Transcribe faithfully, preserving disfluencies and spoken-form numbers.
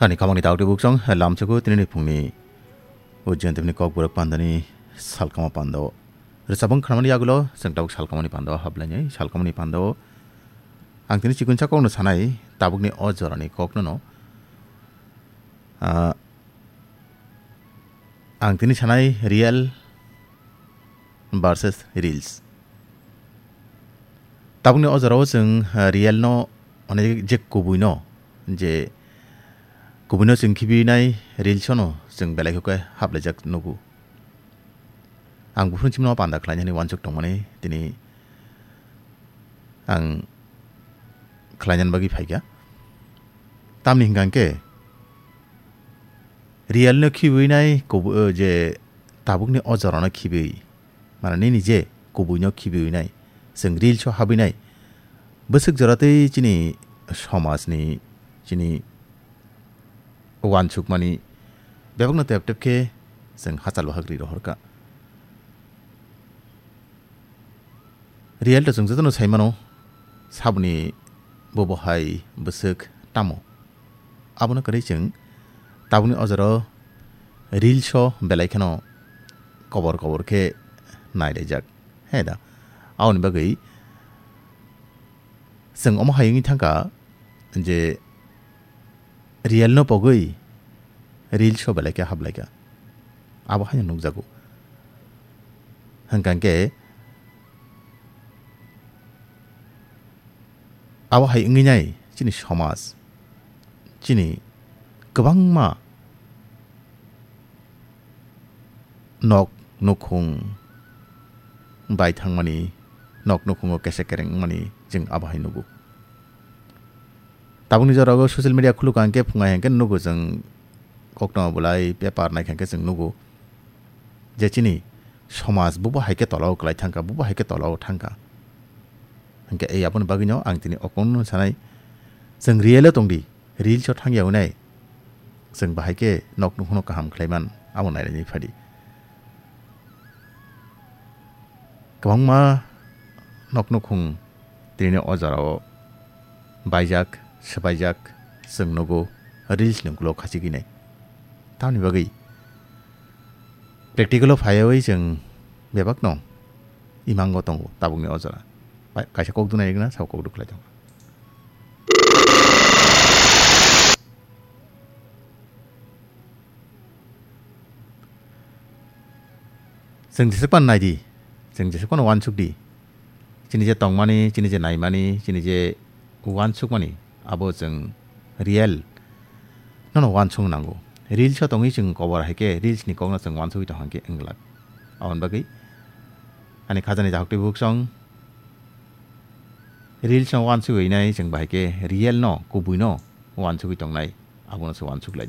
Ani kamani daudi buksong lamchukgo tinini phungni ujjantipni kokborok pandani salkama pando. Rwchapung khanamani yagulo chwng tabuk salkamani pando hablainai. Salkamani pando ang tini chikunsa kokno sanai, tabukni o jorani kokno no. Ah, ang tini sanai real versus reels. Tabukni o jorao chwng, ah, real no, mane je kubui no, je kubui no chwng khibinai reels no chwng belai khe haplaijak nugo. Ang buphuru chimno panda khlainani wansuk tongmani tini ang khlainani bagwi phaikha. Tamni hwnkha hwnkhe real no khibui nai kubu-, o, je tabukni o jorano khibui, mane nini je kubui no khibui nai, chwng reels o habui nai, bwswk jora tei chini somajni, chini wansukmani bebakno tep tep khe chwng hachal bahak ri rohorkha. Real to chwng jotono sai mano, saboni bobo hai bwswk tamo. Abono kwrwi chwng tabukni o jorao reels o belai kheno kobor kobor khe nailaijak. He da? Aboni bagwi chwng omo hai wngwi thangkha je real no pogwi reels o belai khe hablaikha. Abo haino nukjago. Hwnkha hwnkhe abo hai wngwi nai chini somaj, chini kwbangma nok nukhung bai thangmani, nok nukhungo kesa kereng wngmani chwng abo hai nugo. Tabukni jorao social media khulukha hwnkhe phunga hwnkhe nugo chwng, koktwma bolai paper naikha hwnkhe chwng nugo je chini somaj bubo hai khe tolao kwlai thangkha, bubo hai khe tolao thangkha. Hwnkhe ei aboni bagwino ang tini o kokno sanai, chwng real o tongdi, reels o thangya hwnwi chwng bahai khe nok nukhungno kaham khlaiman, abo nainani phadi. Kwbangma nok nukhung tini o jorao baijak, swbaijak, chwng nugo reels ni ulo khachigwi nai. Tamoni bagwi practical o phaiwi chwng bebakno imango tongo tabukni o jora. Pai-, kaisa kok dunai gana sao kok dukhlai tongo. Chwng jeswk phano nai di, chwng jeswk phano uansuk di. Chini je tongmani, chini je naimani, chini je uansukmani, abo chwng real nono uansuk nango. Reels o tongwi chwng kobor hai khe reels ni kokno chwng uansugwi tong hang khe wng glak. Aboni bagwi ani khajani dakhuk twi bukhuk song reels no uansugwi nai chwng bahai khe real no kubui no uansugwi tongnai, abono se uansuk lai di.